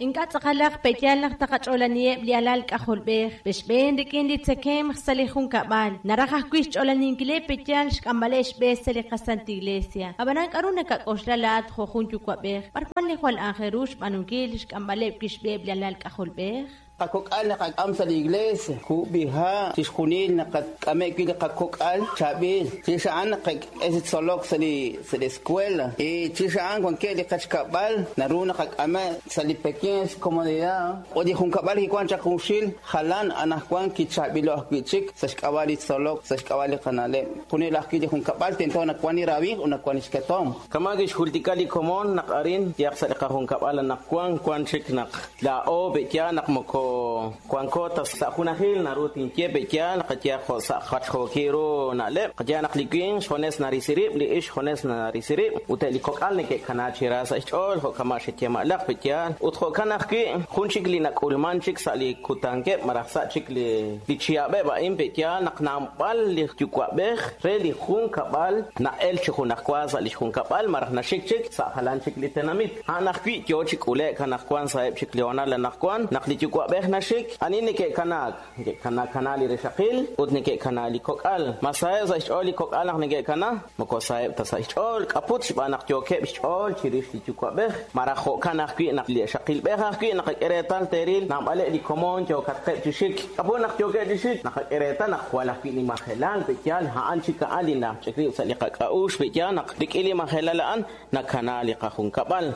Ink'a' tz'aqalaq pe'yaal naq taqach'oolaniheb' li alal k'ajolb'ej xb'een rik'in li tzekemq sa' li junkab'al, naraj ajwi' xch'oolaninkileb' pe'yaal xk'amb'aleb' xb'e sa' li qasantil iglesia. Ab'anan k'aru nakak'oxla laa'at jo' jun yuwa'b'ej, b'ar wan li jwal aajel ru xb'aanunkil xk'amb'aleb' wi' xb'eheb' li alal k'ajolb'ej? Qakok'al naqak'am sa' li iglees, kub'iha', chixjunil naqak'ameb' wi' li qakok'al chaab'il. Chirix a'an naqak'e chi tzolok sa' li sa' li escuela. Y chirix a'an wankeb' li qechkab'al naru naqak'ameb' sa' li pequeñas comodidad. Ut li junkab'al kiwan chaq junxil jalan anaqwan kichaab'ilo' ajwi' chik sa' xk'ab'a' li tzolok, sa' xk'ab'a' li qana'leb'. Junil ajwi' li junkab'al tento nawan li rawimq ut nawan li xketomq. Kama' kixjultika li komon naq arin yaq sa' li qajunkab'al anaqwan wan chik naq laa'o pe'yaal naq moko wanko ta sa' junajil naru tinye pe'yaal qayehaq jo' sa' jachjookil ru na'leb' qayehaq naq li winq xjunes narisi rib' li ixq xjunes narisi rib' ut eb' li kok'al neke'kana chi ra sa' xch'ool jo' kama' xeyemalaq pe'yaal ut jo'kan ajwi' jun chik li nak'ulman chik sa' li kutankeb' malaj sa' chik li li chihab'eb' a'in pe'yaal naq naab'al li yuwa'b'ej re li junkab'al na'el chi junajwa sa' li xjunkab'al malaj naxik chik sa' jalan chik li tenamit. A'an ajwi' yo chi k'ule'k anaqwan sa'eb' chik li hoonal anaqwan naq li yuwa'b'ej naxik, ani neke'kanaak? Neke'kana li rixaqil ut neke'kana li kok'al. Ma saheb' sa' xch'ool li kok'al naq neke'kana? Moko saheb' ta sa' xch'ool, k'aput xb'aan naq yookeb' xch'ool chirix li yuwa'b'ej. Malaj jo'kan ajwi' naq li ixaqilb'ej ajwi' naqak'e reetal teeril naab'aleb' li komon yookatqeb' chi xik. K'aput naq yookeb' chi xik? Naqak'e reetal naq jwal ajwi' li majelal pe'yaal a'an chik a'an li nach'ik rib' sa' li qak'a'uxl pe'yaal naq rik'in li majelal a'an nakana li qajunkab'al.